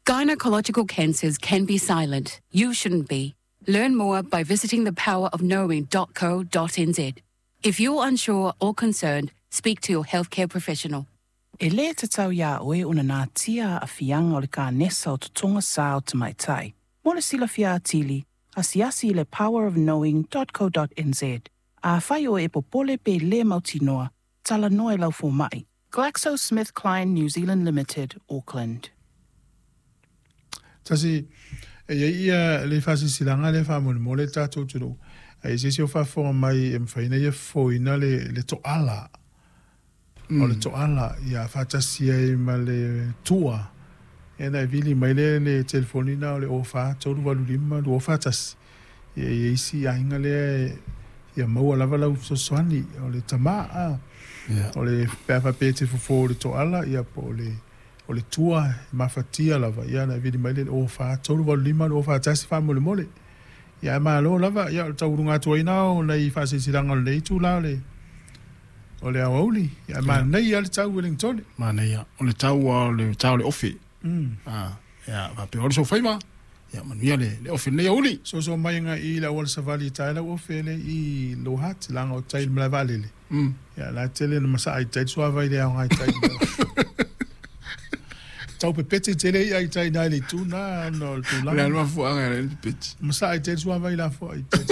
Gynecological cancers can be silent. You shouldn't be. Learn more by visiting thepowerofknowing.co.nz. If you're unsure or concerned, speak to your healthcare professional. E lē tatau iā oe ona natia aafiaga o le kanesa o totoga sā o tamaitai. Mo le silafia atili, asiasi i le powerofknowing.co.nz. Afai oe e popole pe lē mautinoa, talanoa i lau fomaʻi. GlaxoSmithKline New Zealand Limited, Auckland. Tasi, e i ai ia le faasilasilaga lea faamolemole le tatou atunuu, a i ai se isi o faafofoga mai e mafai ona ia fofoina le, le toala. O le toala, ia faatasi ai ma le tua, ia ona e vili mai lea i le telefoni lena o le 04 385 241. Ia e i ai isi aiga lea e fia maua lava lau fesoasoani, o le tama, a. O le, pe a faapea e te fofo i le toala, ia po o le, o le tua e mafatia lava, ia ona e vili mai lea i le 04 385 241 faamolemole. Ia ae malo lava, ia o le tauuluga atu ai lena o nai faasilasilaga o lenei itula o le o le aoauli. Ia ae manaia lava le tau Ueligitone. Manaia. O le tau lava o le ta o le ofe. Ia faapea o le sofaiva, ia manuia le le ofe i lenei aoauli. Soso mai agai i le auala savali e tae lau ofe lea i Lower Hutt, leaga o tai i le malae vaalele. Ia la e tele ina masaa i tai le suavai i le aoga i tai. Tau pepeti tele i'a i tai i na i le itu na ona o le tulaga. O le a le mafuaaga e ala ai ona pepeti? Masaa i tai le suavai lafoa i tai.